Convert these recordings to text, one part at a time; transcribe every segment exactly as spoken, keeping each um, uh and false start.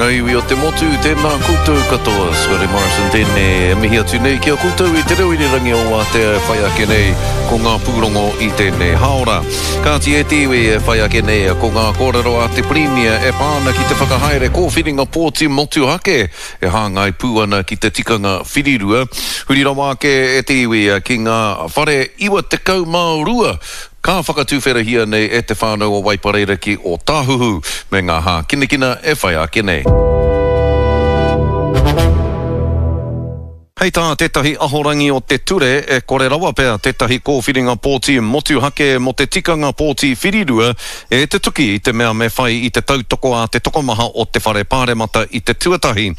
ngā iwi o te motu, tēnā koutou katoa. Scotty Morrison tēnei e mihi atu nei ki a koutou i te reo irirangi o Wātea e whai ake nei ko ngā pūrongo i tēnei haora. Kāti e te iwi e whai ake nei ko ngā kōrero a te Pirimia e pā ana ki te whakahaere kōwhiringa pōti motuhake e hāngai pū ana ki te tikanga whirirua. Huri rawa ake e te iwi ki ngā whare iwa tekau mā rua ka whakatuwherahia nei e te whānau o Waipareira ki Ōtāhuhu me ngā hākinakina e whai ake nei. Hei tā tētahi ahorangi o te ture e kore rawa pea tētahi kōwhiringa pōti motuhake mō te tikanga pōti whirirua e tutuki i te mea me whai i te tautoko a te tokomaha o te whare pāremata i te tuatahi.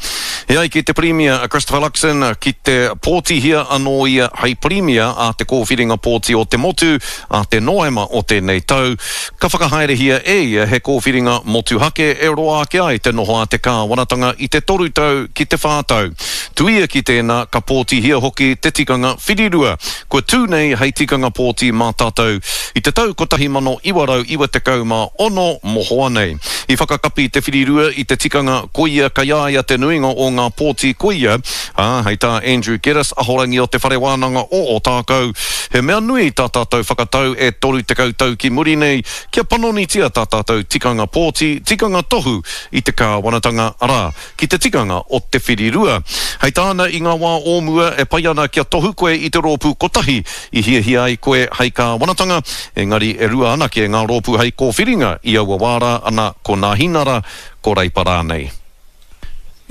E ai ki te Pirimia a Christopher Luxon ki te pōtihia anō ia hei Pirimia a te kōwhiringa pōti o te motu a te Noema o tēnei tau, ka whakahaerehia e ia he kōwhiringa motuhake e roa ake ai te noho a te kāwanatanga i te toru tau ki te whā tau. Tuia ki tēnā, ka pōtihia hoki te tikanga whirirua, kua tū nei hei tikanga pōti mā tātou i te tau kotahi mano iwa rau iwa tekau mā ono mohoa nei. I whakakapi te whirirua i te tikanga koia kei a ia te nuinga o ngā pōti koia, ā, hei tā Andrew Geddis, ahorangi o Te Whare Wānanga o Ōtākou, he mea nui tā tātou whakatau e toru tekau tau ki muri nei kia panonitia tā tātou tikanga pōti, tikanga tohu i te kāwanatanga, arā, ki te tikanga o te whirirua. Hei tāna i ngā wā o mua e pai ana kia tohu koe i te rōpū kotahi i hiahia ai koe hei kāwanatanga, engari e rua anake ngā rōpū hei kōwhiringa i aua wā rā, ana ko Nāhinara, ko Reipa rānei.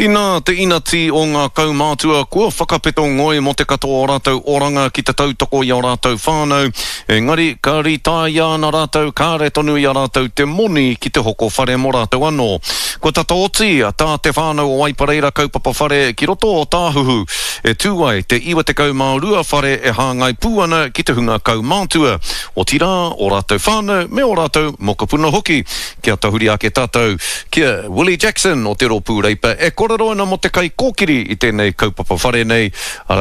Inā te inati o ngā kaumātua kua whakapeto ngoi mō te katoa o rātou oranga ki te tautoko i ō rātou whānau, engari ka rītāia ana rātou kāre tonu i a rātou te moni ki te hoko whare mō rātou anō. Kua tata oti tā te whānau o Waipareira kaupapa whare ki roto o Tāhuhu e tū ai te iwa tekau mā rua whare e hāngai pū ana ki te hunga kaumātua, otirā ō rātou whānau me ō rātou mokopuna hoki. Kia tahuri ake tātou ki a Willie Jackson o te Rōpū Reipa e kōrero ana mō te kaikōkiri i tēnei kaupapa whare nei, arā,